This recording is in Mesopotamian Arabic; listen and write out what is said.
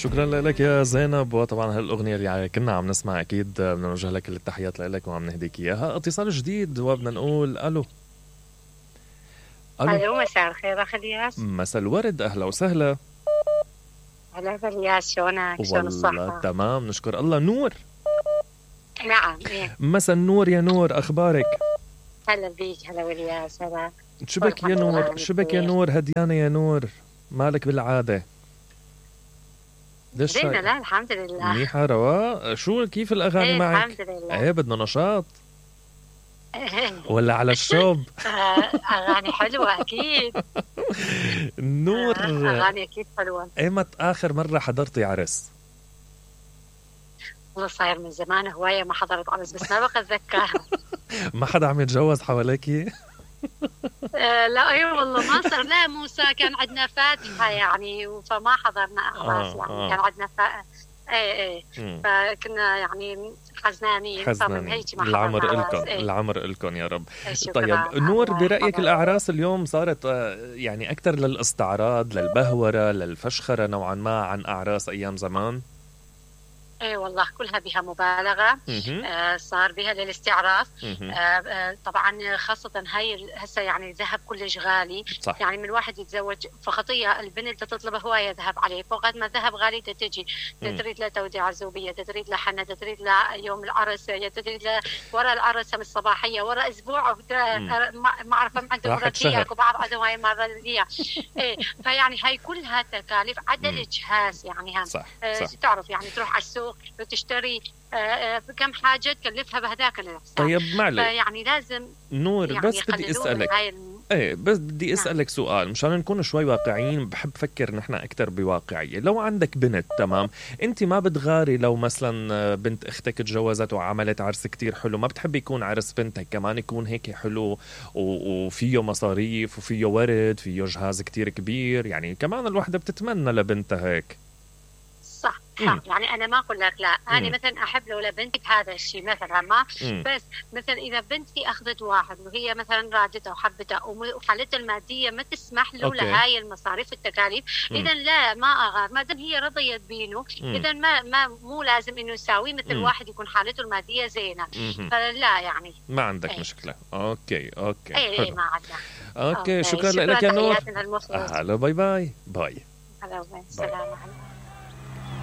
شكرا لك يا زينب. وطبعا هالأغنية اللي كنا عم نسمع أكيد بدنا نوجه لك كل التحيات لك وعم نهديك إياها. اتصال جديد وبدنا نقول ألو. ألو مساء الخير أخ الياس. مساء الورد، أهلا وسهلا. هلا بالياس، شلونك؟ شلون الصحة؟ والله تمام نشكر الله. نور. نعم. مساء النور يا نور، أخبارك؟ هلا بيك. هلا والياس. هلا. شبك يا نور؟ شبك يا نور؟ هديانة يا نور، مالك بالعادة؟ زينة. لا الحمد لله منيحة رواق. شو كيف الأغاني معك؟ الحمد لله. ايه بدنا نشاط ولا على الشوب؟ أغاني حلوة أكيد. نور أغاني أكيد حلوة. ايمت آخر مرة حضرتي عرس؟ والله صاير من زمان هواية ما حضرت عرس، بس ما بقى أتذكر. ما حدا عم يتجوز حواليكي؟ لا ايوه والله ما صار. لا موسى كان عندنا فاتحة يعني، فما حضرنا أعراس يعني. كان عندنا ايه فكنا يعني حزنانين. العمر إلكم العمر إلكم يا رب. طيب نور، برأيك الأعراس اليوم صارت يعني أكثر للاستعراض، للبهورة، للفشخرة نوعا ما عن أعراس أيام زمان؟ ايه والله كلها بها مبالغة. صار بها للاستعراف. طبعا خاصة هاي هسه يعني الذهب كلش غالي. صح. يعني من الواحد يتزوج فخطية البنت تطلب هواية ذهب عليه، فوقت ما الذهب غالي تجي تريد له توديع الزوبية، تريد له حنة، تريد له يوم العرس، تريد له ورا العرس من الصباحية، ورا اسبوع ما اعرف عنده مرتية وبعض عندهم هاي المرضية. ايه فيعني هاي كلها تكاليف عدا الاجهاز يعني هم. صح. تعرف يعني تروح على السوق وتشتري كم حاجة تكلفها بهذاك الحساب. طيب معلش يعني لازم نور يعني بس بدي اسألك بس بدي اسألك سؤال مشان نكون شوي واقعيين. بحب فكر نحن اكثر بواقعية. لو عندك بنت تمام، انت ما بتغاري لو مثلا بنت اختك تجوزت وعملت عرس كتير حلو؟ ما بتحب يكون عرس بنتك كمان يكون هيك حلو وفيه مصاريف وفيه ورد، فيه جهاز كتير كبير؟ يعني كمان الوحدة بتتمنى لبنتها هيك. صح. يعني أنا ما أقول لك لا. أنا مثلا أحب لو لبنتي هذا الشيء مثلا ما بس مثلا إذا بنتي أخذت واحد وهي مثلا رادته وحبته وحالتها المادية ما تسمح له لهاي المصاريف والتكاليف، إذا لا ما أغار ما دام هي رضيت بينه. إذا ما مو لازم إنه يساوي مثل واحد يكون حالته المادية زينة. فلا يعني ما عندك مشكلة. أوكي إيه ما عندنا. أوكي شكرا لك يا نور. هلا باي باي. هلا سلام عليكم.